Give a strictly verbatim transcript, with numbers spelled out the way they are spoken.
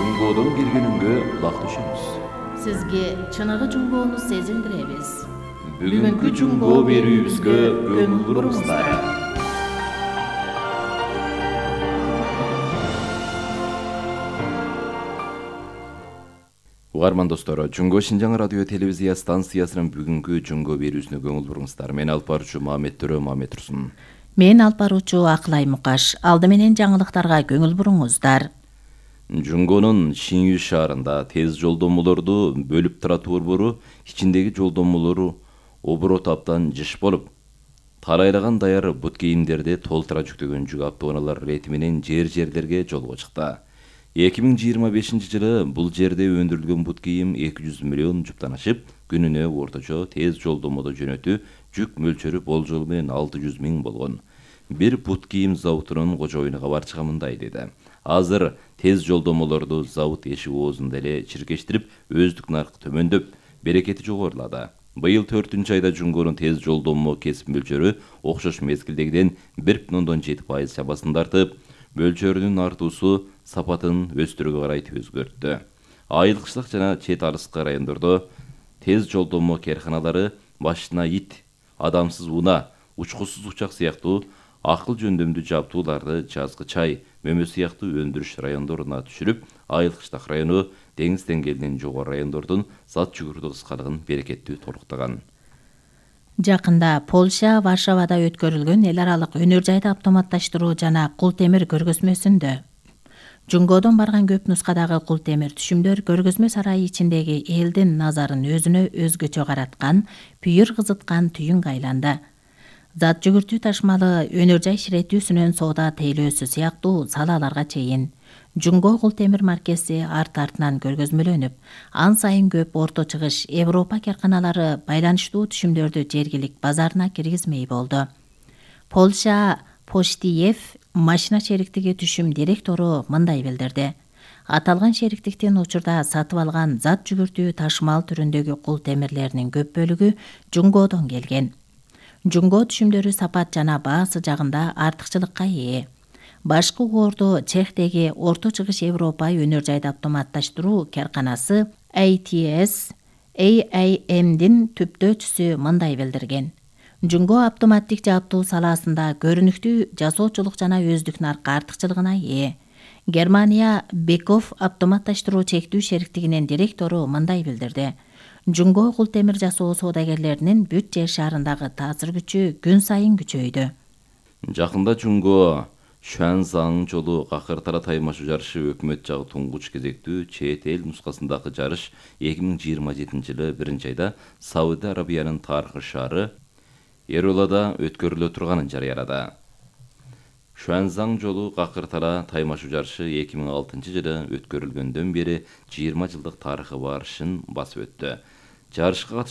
Жунгоодон киргенүнгө кулак түшөмүз. Сизге чыныгы жунгоону сезилдиребиз. Бүгүнкү жунгоо берүүбүзгө көңүл буруңуздар. Угарман достор, Жунгоо Шинжаң радио телевизия станциясынын бүгүнкү жунгоо берүүсүнө көңүл буруңуздар. Мен алып баруучу Мамет Төрө Мамет Турсун. Мен алып баруучу Акылай Мукаш. Алды менен жаңылыктарга көңүл буруңуздар. Жунгоонун Шинью шаарында тез жолдомолорду бөлүп турат борбору ичиндеги жолдомолору оборот абдан жыш болуп, тарайлаган даяр бут кийимдерди толтура жүктөгөн жүк автоунаалар рети менен жер-жерлерге жолго чыкты. эки миң жыйырма бешинчи жылы бул жерде өндүрүлгөн бут кийим эки жүз миллион жуптан ашып, күнүнө орточо тез жолдомодо жөнөтүү жүк мөлчөрү болжол менен алты жүз миң болгон. Бир бут кийим заводунун кожоюну кабарчыга мындай деди: азыр тез жолдомолорду завод эшик оозунда эле чиркештирип, өздүк наркы төмөндөп, берекети жогорулады. Быйыл төртүнчү айда жунгоонун тез жолдомо кесип мөлчөрү окшош мезгилдегиден бир бүтүн ондон жети пайыз чамасын тартып, мөлчөрүнүн артуусу сапатын өстүрүүгө карай өзгөрттү. Айылчылык жана чет арыскы райондордо тез жолдомо керканалары башына ит, адамсыз унаа, учкусуз учак сыяктуу акыл жөндөмдүү жабдууларды жазгы чай, мөмө сыяктуу өндүрүш райондоруна түшүрүп, Айыл-Кыштак району деңиз деңгээлинен жогору райондордун зат жүгүртүү кыскалыгын берекеттүү толуктаган. Жакында Польша Варшавада өткөрүлгөн эл аралык өнөр жайды автоматташтыруу жана кул темир көргөзмөсүндө жунгоодон барган көп нускадагы кул темир түшүмдөр көргөзмө сарайы ичиндеги элдин назарын өзүнө өзгөчө караткан, пүйүр кызыткан түйүнгө айланды. Зат жүгүртүү ташмалы өнөр жай ширетүүсүнөн соода тейлөөсү сыяктуу салааларга чейин Жунгоо кул темир маркеси арт-артынан көргөзмөлөнүп, ан сайын көп орто чыгыш Европа керканалары байланыштуу түшүмдөрдү жергилик базарына киргизмей болду. Польша Поштиев машина шериктиги түшүм директору мындай билдирди: аталган шериктиктин учурда сатып алган зат жүгүртүү ташмал түрүндөгү кул темирлеринин көп бөлүгү Жунгоодон келген. Жунгоо түшүмдөрү сапат жана баасы жагында артыкчылыкка ээ. Башкы угоордо Чехтеги орто чыгыш Европа өнөр жайды автоматташтыруу керканасы эй ти эс эй эй эмдин түптөөчүсү мындай билдирген: Жунгоо автоматтик жабдуу салаасында көрүнүктүү жасоочулук жана өздүк наркы артыкчылыгына ээ. Германия Беков автоматташтыруу чектүү шериктигинин директору мындай билдирди: Жунгоо кул темир жасоо соодагерлеринин бүт жер шаарындагы таасир күчү күн сайын күчөйдү. Жакында Жунгоо Шуанзаң жолу Какыр-Тара таймашуу жарышы өкмөт жагы туңгуч кезектүү чет эл нускасындагы жарыш эки миң жыйырма жетинчи жылы биринчи айда Сауд Арабиянын тарыхый шаары Эролада өткөрүлө турганын жарыялады. Шуанзаң жолу Какыр-Тара таймашуу жарышы эки миң алтынчы жылы өткөрүлгөндөн бери жыйырма жылдык тарыхы бар ишин басып өттү. Жарышка катышуу